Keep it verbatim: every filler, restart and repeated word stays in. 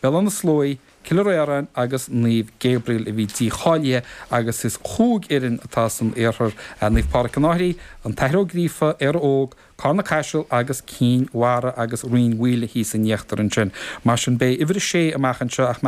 Béal Átha na Sluaighe, Cill Ramhráin agus Naomh Gabriel a bhí dícháilithe agus is chúig fhoireann atá san iarthar Naomh Pádraig an Fhairche, an tAthair Ó Gríofa, Éire Óg, Carna Caiseal agus Cinn Mhara agus Rinn Mhaoile thíos in íochtar ansin. Mar sin beidh uimhir a sé amach anseo ach má